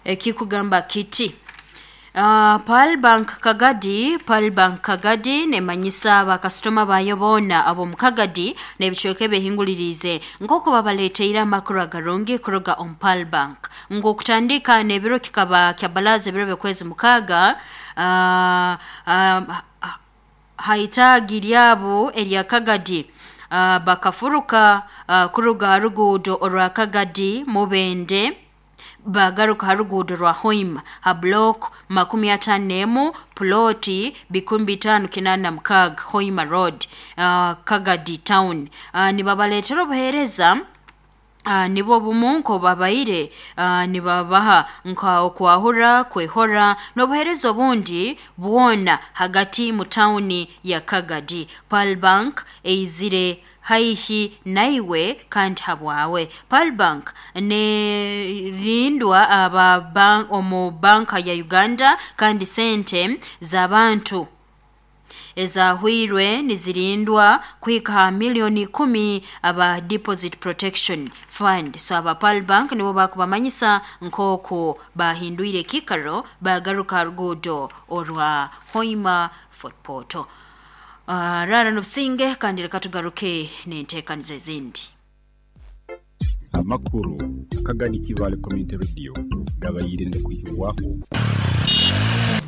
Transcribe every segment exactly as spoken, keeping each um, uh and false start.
Ekikugamba kiti Uh, Pearl Bank Kagadi, Pearl Bank Kagadi nemanyisa bakasitoma bayo boona ab'omu Kagadi n'ebicweka ebehinguliriize nk'oku babaleeteire amakuru agarungi kuruga omu Pearl Bank. Ngu okutandika n'ebiro kikaba kya balaza ebiro by'okwezi mukaaga uh, uh, haitaagi lyabo erya Kagadi uh, bakafuruka uh, kuruga ha ruguudo orwa Kagadi Mubende bagaruka ha ruguudo rwa Hoima ha block makumi ataano n'emu ploti bikumi bitaano kinaana na mukaaga Hoima Road uh, Kagadi Town. uh, nibabaleetera obuheereza Uh, nibwo bumu nkobabaire uh, nibabaha nka okwahura kwehora n'obuheereza obundi bwona hagati mu tawuni ya Kagadi. Pearl Bank eizire haihi naiwe kandi habwawe. Pearl Bank nerindwa aba bank, omu banka ya Uganda kandi sente z'abantu ezahwirwe nizirindwa kuhika ha milioni kumi aba Deposit Protection Fund. So aba Pearl Bank nibo bakubamanyisa nk'oku bahindwire ekikaro bagaruka ruguudo orwa Hoima Fort Portal. Uh, rara n'obusinge kandi reka tugaruke n'enteekaniza ezindi. Amakuru Akagadi Kivale Community Radio gabayirinde kuhibwaho.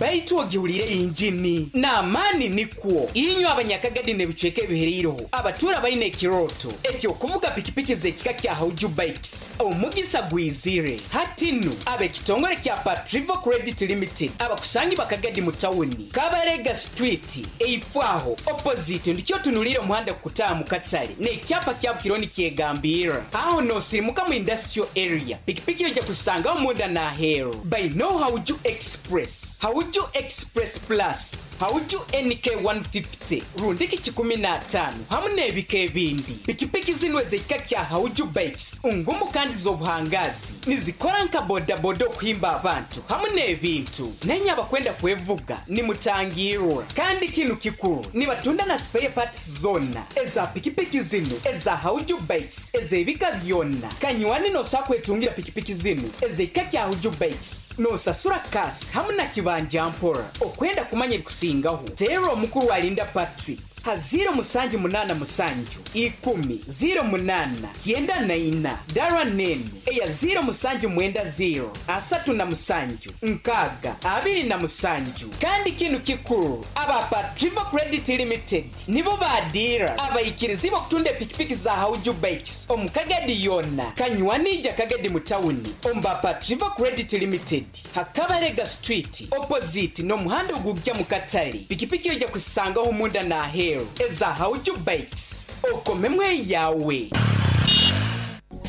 Baitu ogihulire injini n'amaani nikwo inywe abanyakagadi n'ebicweka ebihereireho abatura baine ekiroto ekyokuvuga pikipiki z'ekika kya Hauju Bikes omugisa gwizire hatinu ab'ekitongole kya Patrivo Credit Limited abakusangi bakagadi mu tawuni Kabarega Street eifwaho opposite ndikyo tunulire omuhanda kukutaaha mu katale n'ekyapa kya Bukironi kyegambira aho nosirimuka mu industrial area pikipiki ojja kusangaho munda n'aheeru baino Hauju Express, Hauju Express Plus, Hauju N K one fifty rundiki kikumi n'ataano hamu n'ebika ebindi. Pikipiki zino ez'ekika kya Hauju Bikes ngumu kandi z'obuhangazi nizikora nka bodaboda okuhimba abantu hamu n'ebintu nenye abakwenda kwevuga nimutangirwa. Kandi kinu kikuru nibatunda na spare parts zonna eza pikipiki zino eza Hauju Bikes ez'ebika byonna. Kanywani nosa kwetungira pikipiki zino ez'ekika kya Hauju Bikes nosasura kasi hamu na kibanja mpora. Okwenda kumanya ebikusingaho teera omukuru alinda Patrick ha ziro musanju munaana musanju ikumi ziro munaana kyenda na ina dara nenu eya ziro musanju mwenda ziro asatu na musanju nkaaga abiri na musanju. Kandi kinu kikuru aba Patrivo Credit Limited nibo badira abayikirizi bokutunda epikipiki za Hauju Bikes omu Kagadi yonna. Kanywanija Kagadi mu tawuni omu Patrivo Credit Limited hakabarega Street opposite n'omuhanda ogujja mu katale pikipiki ojja kusangaho munda n'aheeru eza Hauju Bikes okomemwe yawe.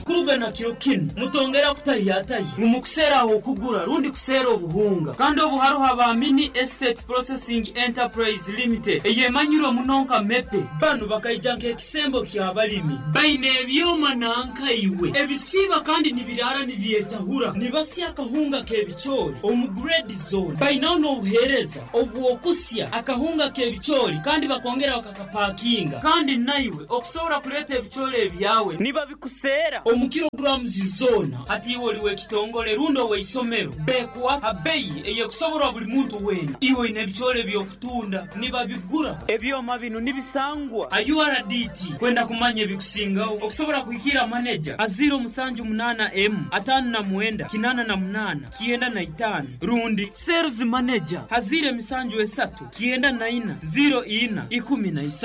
Kurugana kiro kinu mutongera kutahiyatahi mumukuseera okugura rundi kuseera obuhunga kandi obu haruho aba Mini Estate Processing Enterprise Limited eyemanyirwe muno nka MEPE. Banu bakaija nk'ekisembo ky'abalimi baine ebyoma nankaiwe ebisiiba kandi nibirara nibyetahura nibasya akahunga k'ebicoori omu grade zone. Bainaho n'obuheereza obw'okusya akahunga k'ebicoori kandi bakongera bakakapakinga kandi naiwe okusobora kuleeta ebicoori ebyawe nibabikuseera omu kilograms zona. Hati iwe oli w'ekitongole rundi ow'eisomero bekuwa abeyi eyekusoborwa buli muntu wena. Iwe oine ebicoori ebyokutunda nibabigura. Ebyoma bino nibisangwa a U R D T. Kwenda kumanya ebikusingaho okusobora kuhikira maneja a ziro musanju munaana m ataano na mwenda kinaana na munaana kyenda na itaano rundi sales manager ha ziro emisanju esatu kyenda na ina ziro ina ikumi na isatu.